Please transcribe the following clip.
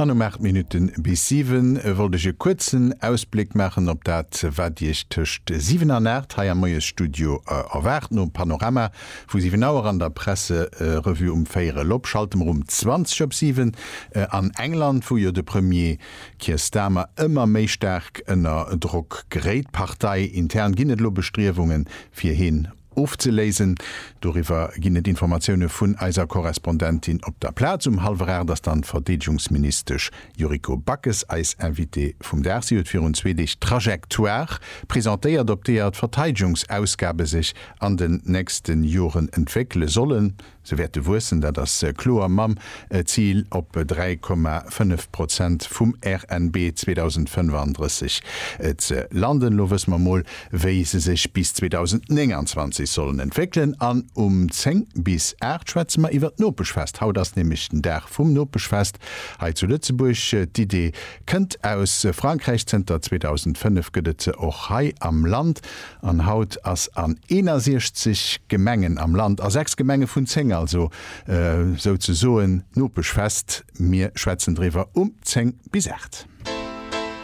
An um 8 Minutte bis 7 wollt ech e kuerzen Ausbléck maachen op dat, wat Iech tëscht 7 an 8 hei am Moiesstudio erwaart. Nom Panorama vu 7 Auer an der Presserevue um véierel op schalte mer um 20 op 7 an England, wou jo de Premier Keir Starmer ëmmer méi staark ënner Drock geréit. Parteiintern ginn et elo Bestriewungen, fir hien ofzeléisen. Doriwwer ginn et Informatioune vun eiser Korrespondentin op der Plaz. Um hallwer 8 ass dann d'Verdeedegungsministesch Yuriko Backes eis Invitée vum Dag. Si huet virun zwee Deeg d'Trajectoire presentéiert, op deeër d'Verteidegungsausgabe sech an den nächste Joren entwéckele sollen. Se wäerte wuessen, dat ass kloer, mam Zil op 3,5 Prozent vum RNB 2035 ze landen. Elo wësse mer mol, wéi se sech bis 2029 sollen entwéckelen. An um 10 bis 8 schwätze mer iwwer d'Nopeschfest. Haut ass nämlech den Dag vum Nopeschfest hei zu Lëtzebuerg. D'Idee kënnt aus Frankräich, zënter 2005 gëtt et se och hei am Land. An haut ass an 61 Gemengen am Land, a 6 Gemenge vun 10 also, souzesoen Nopeschfest. Mir schwätzen driwwer um 10 bis 8.